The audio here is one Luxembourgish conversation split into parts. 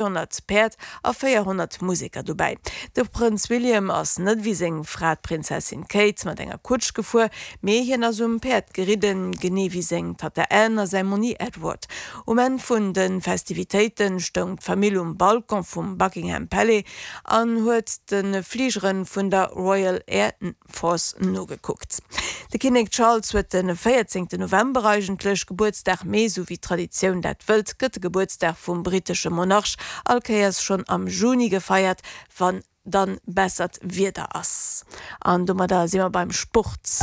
200 Päerd a 400 Museker dobäi. De Prënz William ass net ewéi seng Fra d'Prinzessin Kate mat enger Kutsch gefuer, mee hien ass um Päerd geridden, genee wéi seng Tatta Anne a säi Monni Edward. Um Enn vun de Festivitéite stoung d'Famill um Balcon vum Buckingham Palais an huet de Fligere vun der Royal Air Force nogekuckt. De Kinnek Charles huet de 14 November eigentlech Gebuertsdag, mee sou wéi d'Traditioun dat wëllt, gëtt de Gebuertsdag vum brittesche Monarch all Kéiers schonn am Juni gefeiert, wann dann bessert Wieder ass. An domadder si mer beim Sport.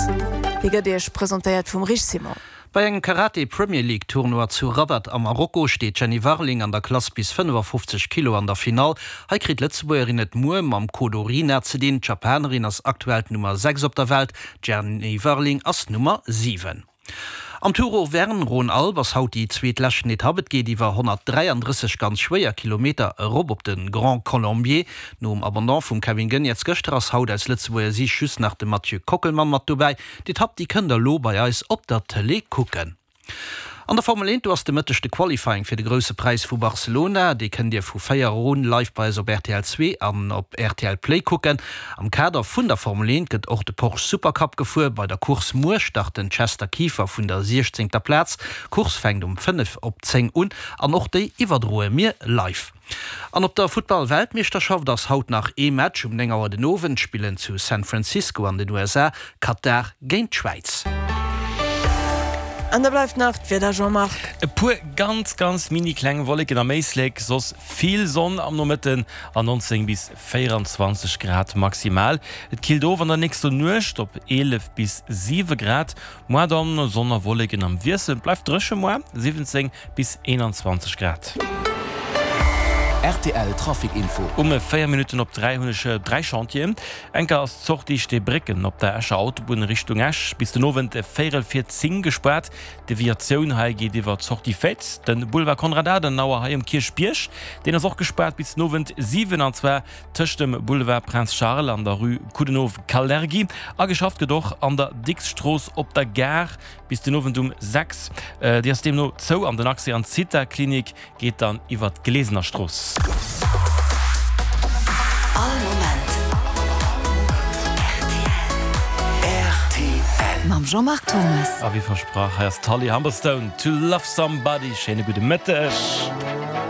Dee gëtt Iech presentéiert vum Rich Simon. Bei engem Karate Premier League Tournoi zu Rabat a Marokko steet d'Jenny Warling an der Klass bis 55 Kilo an der Finall. Hei kritt d'Lëtzebuergerin et muer mam Kodo Rina ze dinn. D'Japanerin ass aktuell d'Nummer 6 op der Welt, d'Jenny Warling ass Nummer 7. Am Tour Auvergne Rhône-Alpes ass haut déi zweet leschten Etapp. Et geet iwwer 133 ganz schwéier Kilometer erop op de Grand Colombier. Nom Abandon vum Kevin Geniets gëschter ass haut aus Lëtzebuerger Siicht just nach de Mathieu Kockelmann mat dobäi. D'Etapp déi kënnt der lo bei eis op der Tëlee kucken. An der Formel 1, do ass de Mëtteg de Qualifying fir de Grousse Präis vu Barcelona. Dee kënnt Dir vu 4 Auer un live bei eis op rtl 2 an op rtl Play kucken. Am Kader vun der Formel 1 gëtt och de Porsche Supercup gefuer. Bei der Course muer start den Chester Kieffer vun der 16. Plaz. D'Course fänkt um 5 op 10 un an och déi iwwerdroe mir live. An op der Futtball-Weltmeeschterschaft ass haut nach ee Match. Um 9 Auer den Owend spillen zu San Francisco an den USA Katar géint d'Schwäiz. An da bleift nach d'Wieder, Jean-Marc. E puer ganz ganz mini kleng Wolleken am Éislek, soss vill Sonn am Nomëtten a 19 bis 24 Grad maximal. Et killt of an der nächster Nuecht op 11 bis 7 Grad. Moar dann Sonn a Wolleken am Wiessel, et bleift dréche moar, 17 bis 21 Grad. Rtl Trafic Info. Um 4 Minutten op 3 hunn ech 3 Chantieren. Enker ass d'Sortie Steebrécken op der Escher Autobunn Richtung Esch bis den Owend véierel vir 10 gespaart. D'Deviatioun hei geet iwwer d'Sortie Féiz. De Boulevard Konrad Adenauer hei um Kierchbierg, deen ass och gespaart bis den Owend 7 an zwar Tëscht dem Boulevard Prince Charles an der Rue Coudenhove-Kalergi. A geschafft gëtt och an der Dicks-Strooss op der Gare bis den Owend um 6. Déi ass deemno zou an den Accès an d'Zitha-Klinik geet dann iwwer d'Glesener Strooss. All Moment rtl. Mam Jean-Marc Thomas. A wéi versprach, hei ass d'Holly Humberstone, To Love Somebody. Schéine gudde Mëtteg.